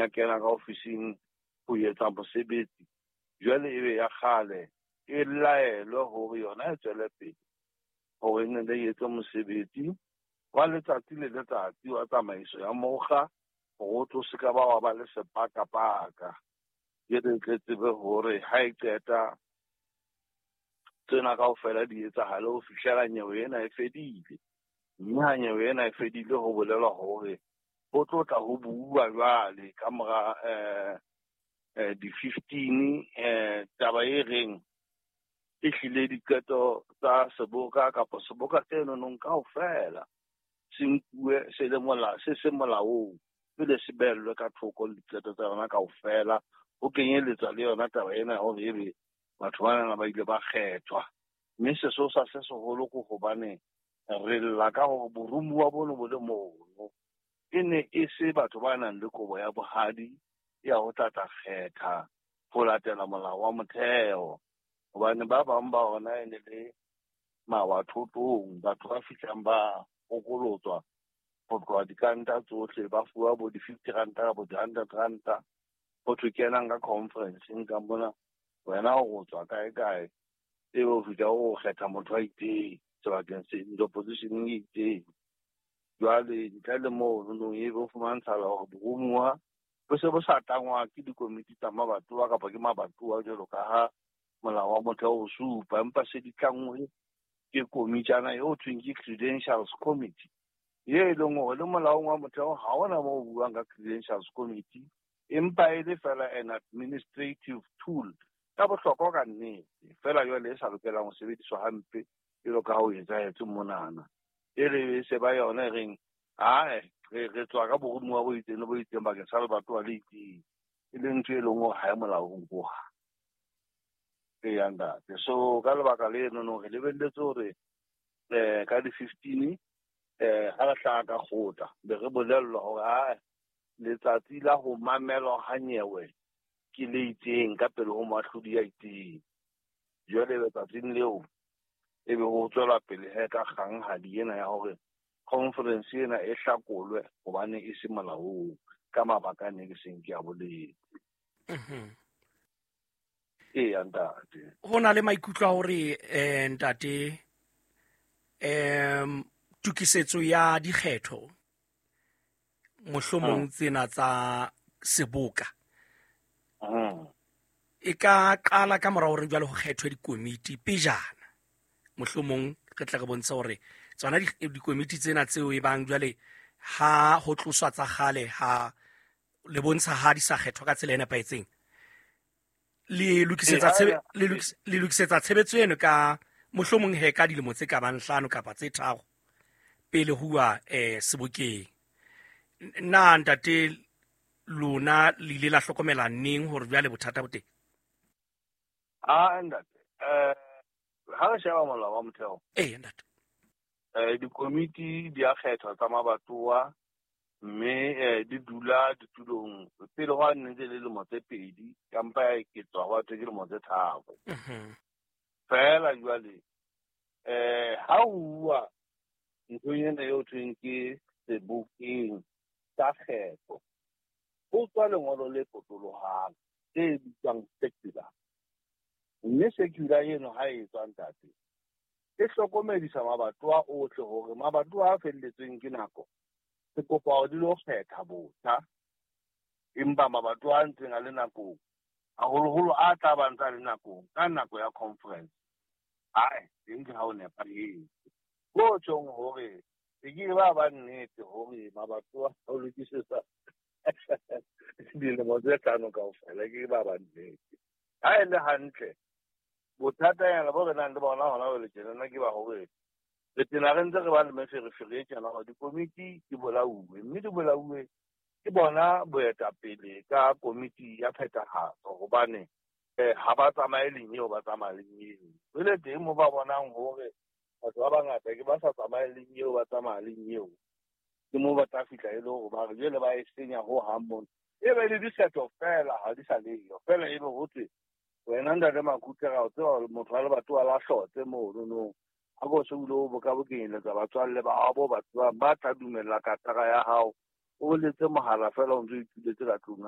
ya kena ka ofising ho etsa mosebetsi, jwale ebe ya kgale e laelwe hore yona e tswele pele hore e nne le etse mosebetsi wa letsatsi le letsatsi wa tsamaiso ya mokga, hore o tlo se ka ba wa ba le sepakapaka. Jwale tle tsebe hore ha e qeta tsena kaofela di etsahale ho fihlela nyewe ena e fedile. Mme ha nyewe ena e fedile, ho bolelwa hore ho tlo tla ho buuwa jwale ka mora di-15, taba e reng e hlile diqeto tsa seboka kapa seboka se nonong kaofela se nkuwe se le se se molaong, pele se behellwe ka thoko le diqeto tsa yona kaofela, ho kenyeletswa le yona taba ena ya hore ebe batho bana ba ile ba kgethwa. Mme sesosa se seholo ke hobane re lla ka hore boromuwa bono bo le mono e ne e se batho ba nang le kobo ya bohadi ya ho tla tla kgetha ho latela molao wa motheo, hobane ba bang ba ona e ne le mawathotong, batho ba fihlang ba hokolotswa ho tloha dikanta tsohle, ba fuwa bo di-50 ranta kapa di-100 ranta, ho thwe kenang ka conference-eng ka mona, wena o tswa kae kae, ebe o fihla o kgetha motho a itseng sebakeng se positioneng e itseng. Jwale ntle le moo nonong ebe o fumantshala hore boromuwa bo se bo sa tlangwa ke dikomiti tsa mabatowa kapa ke mabatowa jwalo ka ha molao wa motheo o supa, empa se di tlanngwe ke komitjana eo thweng ke Credentials Committee, ye e leng hore le molaong wa motheo ha hona moo o buang ka Credentials Committee, empa e le fela an administrative tool ka bohlokwa ka nnete, fela jwale e sa lokelang ho sebediswa hampe jwalo ka ha o etsahetse monana. E re se ba yona e reng ae re tswa ka boromuwa bo itseng le bo itseng bakeng sa lebatowa le itseng, e leng ntho e leng hore ha e molaong hohang. Eya ntate, so ka lebaka leno no re lebelletse hore ka di-15 ha re hlaha ka kgotla, be re bolellwa hore ae letsatsi la ho mamelwa ha nyewe ke le itseng ka pele ho moahlodi ya itseng. Jwale letsatsing leo ebe ho tswelwa pele he ka kganghadi ena ya hore conference ena e hlakolwe hobane e se molaong ka mabaka a ne ke seng ke a boletse. Eya ntate. Ho na le maikutlo a hore ntate, tokisetso ya dikgetho mohlomong tsena tsa seboka e ka qala ka mora hore jwale ho kgethwe dikomiti pejana, mohlomong re tle re bontshe hore tsona dikomiti tsena tseo e bang jwale ha ho tloswa tsa kgale, ha le bontsha ha di sa kgethwa ka tsela e nepahetseng, le lokisetsa le lokisetsa tshebetso eno ka mohlomong he ka dilemo tse ka bang 5 kapa tse 3 pele huwa sebokeng. Na ntate, lona le ile la hlokomela neng hore jwale bothata bo teng? A ntate, ha re sheba molao wa motheo, ee ntate, dikomiti di a kgethwa tsa mabatowa, mme di dula ditulong pele ho nne ntse le lemo tse 2, kampa ya eketswa ho thwe ke lemo tse 3. Fela jwale ha o bua nthong ena eo thweng ke sebokeng sa kgetho, ho tswa lengolo le potolohang le bitswang circular. Mme circular eno ha e tswa ntate, e hlokomedisa mabatowa ohle hore mabatowa a felletsweng ke nako, re kopa hore di lo kgetha botjha, empa mabatowa a ntseng a le nakong, haholoholo a tla ba ntse a le nakong ka nako ya conference, ae teng ke ha o nepahetse. Ho tjhong hore e ke ba nnete hore mabatowa a ho lokisetsa dilemo tse 5 kaofela, ke ba nnete. Ha e le hantle, bothatanyana bo re nang le bona hona jwale tjenana ke ba hore re tena re ntse re ba le meferefere e tjena hore dikomiti di bolauwe, mme di bolauwe ke bona boetapele ka komiti ya phethahatso, hobane ha ba tsamaye leng eo, ba tsamaya leng eo. Jwale teng moo ba bonang hore batho ba bangata ke ba sa tsamaye leng eo, ba tsamaya leng eo, ke moo ba tla fihla e le hore ba re jwale ba e senya hohang mona. E be le dikgetho fela ha di sa leyo, fela ebe ho thwe wena ntate Makhutla ra o tseba hore motho wa lebatowa la hlotse mono nong, ha ko se o ile o bokabokenyelletsa batswalle ba hao bo ba tsebang ba tla dumella katara ya hao, o letse mohala fela o ntso ituletse ka tlung.